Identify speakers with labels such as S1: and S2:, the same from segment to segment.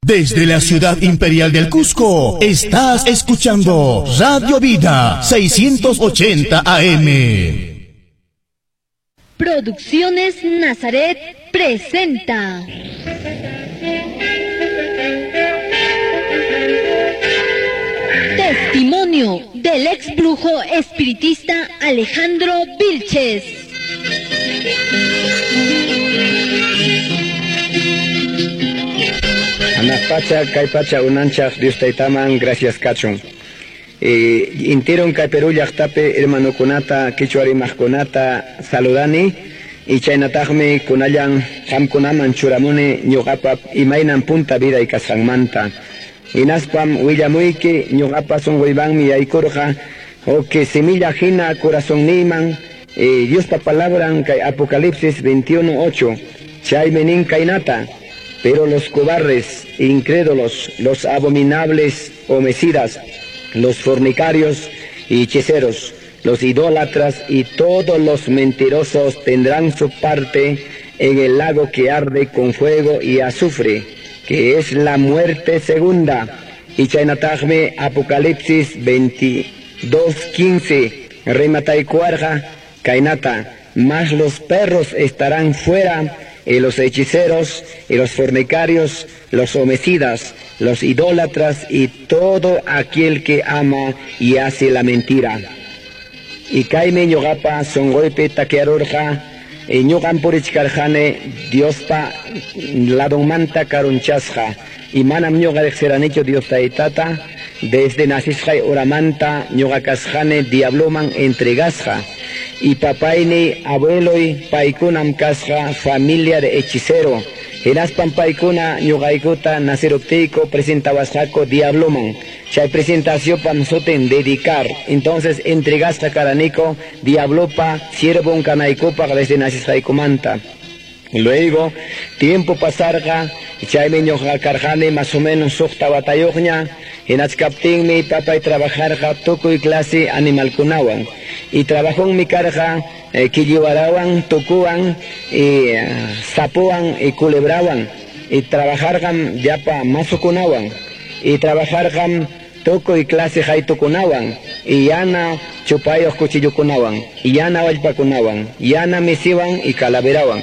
S1: Desde la ciudad imperial del Cusco, estás escuchando Radio Vida 680 AM.
S2: Producciones Nazaret presenta. Testimonio del ex brujo espiritista Alejandro Vilches.
S3: Hanaq pacha, kay pacha unanchaq Dios taytaman gracias kachun. Intiron kay Perú llaqtapi hermanokunata, qichwa rimaqkunata saludani y chaynataqmi kunallan qamkunaman churamuni ñuqapa imaynan punta viday kasqanmanta. Hinaspam willamuyki ñuqapa sunquymanmi yaykurqa huk semilla hina corazonniyman Diospa palabran kay Apocalipsis 21:8 chaymi nin kaynata: pero los cobardes, incrédulos, los abominables homicidas, los fornicarios y hechiceros, los idólatras y todos los mentirosos tendrán su parte en el lago que arde con fuego y azufre, que es la muerte segunda. Y chaynataqmi Apocalipsis 22:15 rimataykuwarqa kaynata: mas los perros estarán fuera, y los hechiceros, y los fornicarios, los homicidas, los idólatras y todo aquel que ama y hace la mentira. Y kaymi ñuqapa sunquypi takyarurqa, y ñuqam purichkarqani Diospa ladunmanta karunchasqa, y manam ñuqa riqsiranichu Dios taytata, desde nacisqay horamanta ñuqa kasqani diabloman entregasqa. Y papayni, abueloy, paykunam kasqa familia de hechicero. Hinaspam paykuna ñuqaykuta naciruptiyku presentawasqaku diabloman. Chay presentacionpam sutin dedicar. Entonces entregasqa karaniku diablopa siervon kanaykupaq desde nacisqaykumanta. Luego, tiempo pasarqa, chaymi ñuqa karqani más o menos suqta watayuqña, hinachkaptinmi papay trabajarqa tukuy clase animalkunawan. Y trabajonmi karqa killiwarawan, tukuwan, y sapuwan, y culebrawan. Y trabajarqam llapa masukunawan. Y trabajarqam tukuy clase haytukunawan, y yana chupayuq cuchillukunawan, y yana wallpakunawan, yana misiwan y calaverawan.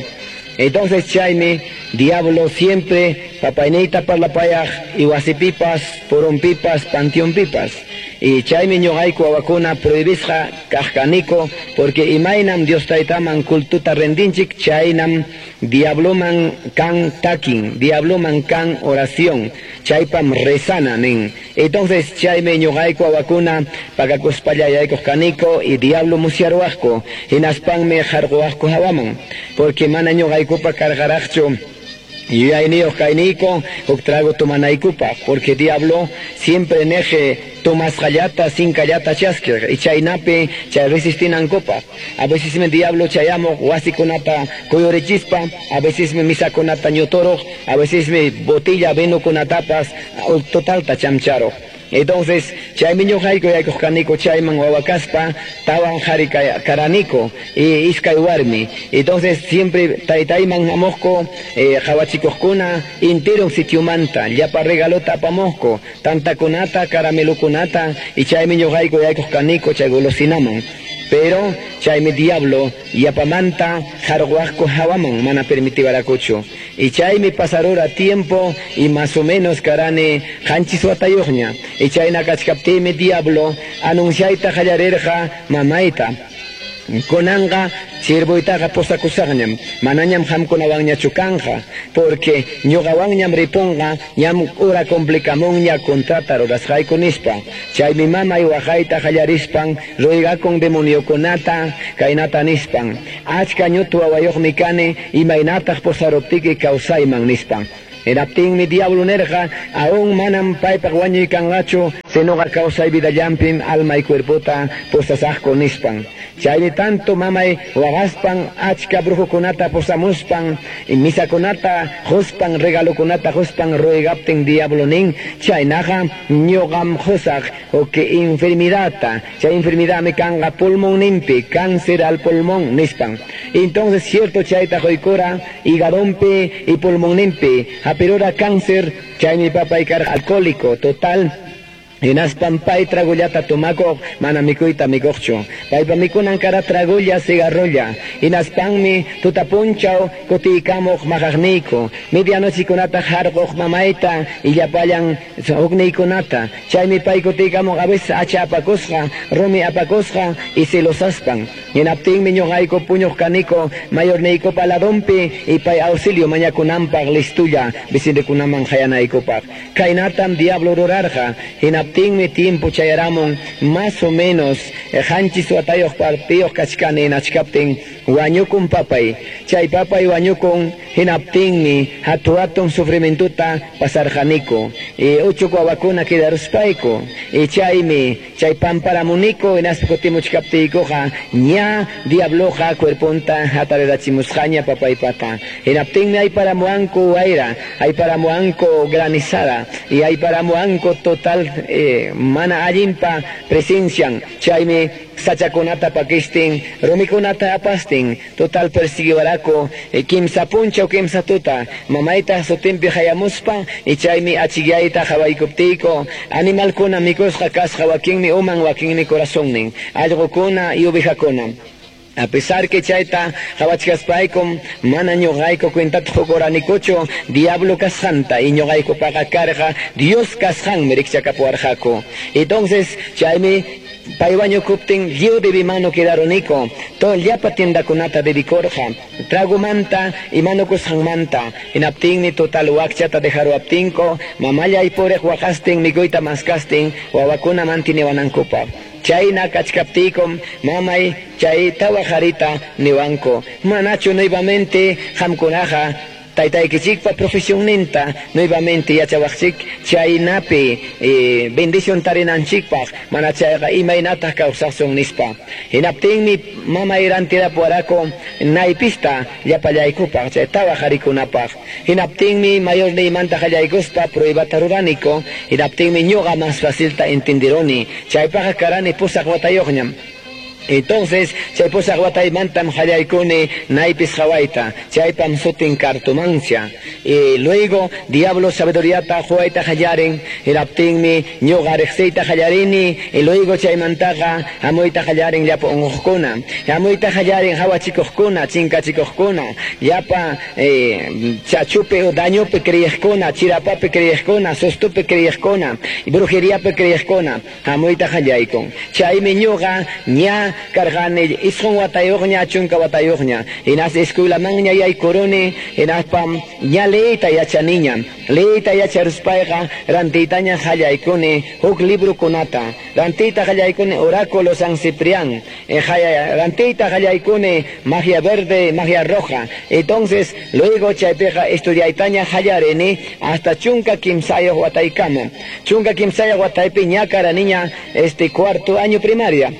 S3: Entonces chaymi diablo siempre papayniyta parlapayaq y wasipipas, purunpipas, panteonpipas. Y chaymi ñuqayku wawakuna prohibisqa kaqkaniku, porque imaynam Dios taytaman cultuta rendinchik, chaynam diabloman kan takin, diabloman kan oración, chaypam rezana nin. Entonces chaymi ñuqayku wawakuna pakakuspalla yaykuq kaniku y diablo musyaruwaqku, hinaspanmi harquwaqku hawaman, porque mana ñuqaykupa karqaraqchu yuyayniyuq kayniyku huk trago tomanaykupaq, porque diablo siempre neje tomasqallata sinkallata chaskiq, y chaynapi chay resistinankupaq. A veces me diablo chayamuq wasikunata kuyurichispa, a veces me misakunata ñuturuq, a veces me botella vinokunatapas totalta chamcharuq. Entonces, chaymi ñuqayku yaykuq kaniku chayman wawakaspa, tawan qhari karaniku, y iskay warmi. Entonces, siempre taytayman hamuqku, qhawachikuqkuna entero sitiomanta, llapa regalota apamuqku, tantakunata, caramelokunata, y chaymi ñuqayku yaykuq kaniku chay golosinaman. Pero chaymi diablo yapamanta harquwaqku hawaman mana permitiwarakuchu. Y chaymi pasarura tiempo y más o menos karani qanchis watayuqña. Y chayna kachkaptiymi diablo anunciayta qallarirqa mamayta: kunanqa siervoytaqa posakusaqñam, manañam qamkunawanñachu kanqa, porque ñuqawanñam ripunqa, ñam hora complicamunña contrata rurasqayku nispa. Chaymi mamay waqayta qallarispan ruegakun demoniokunata kaynata nispan: achka ñutu wawayuqmi kani, imaynataq posaruptiki kawsayman nispan. Hinaptinmi diablo nirqa: aún manam paypaq wañuykanqachu. Sinoqa kawsay vidallampim alma y cuerpota pusasaqku nispan. Chaymi tanto mamay waqaspan achka brujukunata pusamuspan misakunata quspan regalokunata quspan ruegaptin diablo nin chaynaqa ñuqam qusaq huk enfermidadta, chay enfermidadmi kanqa pulmonninpi, cáncer al pulmón nispan. Entonces cierto chayta quykura hígadonpi y pulmonninpi hapirura cáncer, chaymi papay karqa alcohólico total. Hinaspan pay tragullata tomakuq mana mikuyta mikuqchu. Paypa mikunan kara tragulla cigarrolla. Hinaspanmi tutapunchaw kutiykamuq maqaqniyku. Medianochikunata harquq mamayta y llapallan hukniykunata. Chaymi pay kutiykamuq a veces hacha apakusqa, rumi apakusqa y celosaspan. Hinaptinmi ñuqayku puñuq kaniku mayorniykupa ladonpi y pay auxilio mañakunanpaq listulla vecinokunaman qayanaykupaq. Kaynatam diablo rurarqa. Hinaptinmi tiempo chayaramun más o menos qanchis watayuq partiyuq kachkani hinachkaptin wañukun papay. Chay papay wañukun hinaptinmi hatu hatun sufrimientuta pasarqaniku. Y uchuq wawakuna quedaruspayku. Y chaymi chay pamparamuniku hinaspa kutimuchkaptiykuqa ña diabloqa cuerponta hatarirachimusqaña papaypata. Hinaptinmi ayparamuwanku wayra, ayparamuwanku granizada y ayparamuwanku total mana allinpa presencian. Chaymi sachakunata pakistin, rumikunata apastin, total persiguiwaraku kimsa punchaw kimsa tuta, mamayta sutinpi hayamuspa y chaymi achikyayta qawaykuptiyku animalkuna mikusqa kasqa wakinmi uman wakinmi corazonnin, allqukuna y ovejakuna. A pesar que chayta qawachkaspaykum mana ñuqayku cuentata qukuranikuchu diablo kasqanta y ñuqaykupaqa karqa Dios kasqanmi rikchakapuwarqaku. Entonces chaymi pay wañukuptin lliw debimano quedaruniku, todo llapa tiendakunata debikurqa, tragomanta y manukusqanmanta. Hinaptinmi total wakchata dejaruaptinku mamallay puriq waqastin mikuyta maskastin wawakuna mantiniwanankupaq. Chayna kachkaptiykum mamay chay tawa qarita niwanku, manachu nuevamente qamkunaqa taytaykichikpa profesionninta nuevamente yachawaqchik chaynapi bendición tarinanchikpaq mana chayqa imaynataq kawsasun nispa. Hinaptinmi mamay rantirapuwaraku naypista llapallaykupaq chay tawa qarikunapaq. Hinaptinmi mayorniymanta qallaykuspa pruebata ruraniku. Hinaptinmi ñuqa más facilta entenderoni. Chaypaqqa karani pusaq watayuqñam. Entonces, chay pusaq wataymantam qallaykuni naypis qawayta, chaypam sutin cartomancia. Y luego, diablo sabiduriata quwayta qallarin, hinaptinmi ñuqa riqsiyta qallarini, y luego chaymantaqa hamuyta qallarin llapa unquqkuna, hamuyta qallarin hawachikuqkuna, chinkachikuqkuna, llapa chachupi o dañopi creyiqkuna, chirapapi creyiqkuna, sustupi creyiqkuna, brujeriapi creyiqkuna, hamuyta qallaykun. Chaymi ñuqa ña karqani isqun watayuqña chunka watayuqña, hinas escuelamanña yaykuruni, hinaspam ña leyta yachaniña, leyta yacharuspayqa rantiytaña qallaykuni huk librokunata, rantiyta qallaykuni oráculo San Ciprián, rantiyta qallaykuni magia verde, magia roja. Entonces luego chaypiqa estudiaytaña qallarini hasta chunka kimsayuq wataykama. Chunka kimsayuq wataypi ña karaniña cuarto año primaria.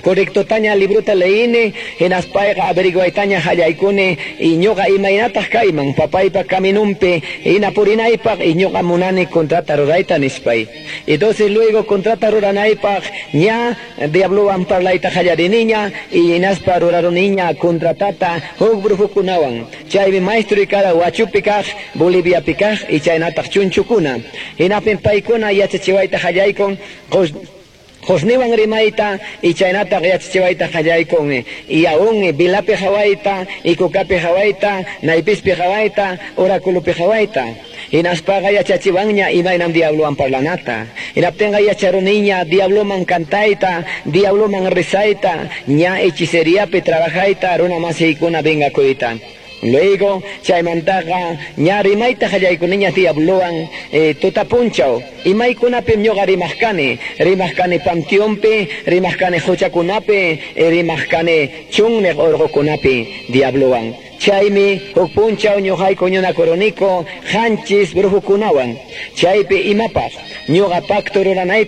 S3: Correcto taña libruta leini, hinaspayqa averiguaytaña hallaykuni, y ñuqa imaynataq kayman, papaypa caminumpi, hinapurinaypaq, y ñuqa munani contrata rurayta nispay. Entonces luego contrata ruranaypaq, ña diablowan parlayta hallariniña, y hinaspa ruraruniña contratata huk brujukunawan. Chaymi maestro y kara Huachupi kaq, Boliviapi kaq, y chaynataq chunchukuna. Hinapin paykuna yachachiwayta hallaykun, Josniwan rimayta y chaynataq yachachiwayta qallaykun, y aún vilapi hawayta, y kukapi hawayta, naypispi hawayta, oráculopi hawayta. Hinaspaqa yachachiwanña imaynam diablowan parlanata. Hinaptinqa yacharuniña diabloman cantayta, diabloman rezayta, ña hechiceriapi trabajayta, runa masiykuna vengakuyta. Luego, chaymantaqa ña rimayta qallaykuniña diablowan tutapunchaw. Imaykunapim ñuqa rimaqkani, rimaqkani panteonpi, rimaqkani quchakunapi, rimaqkani chunniq urqukunapi diablowan. Chaymi huk punchaw ñuqayku ñunakuruniku qanchis brujukunawan. Chaypi imapaq ñuqa pacto ruranaypaq.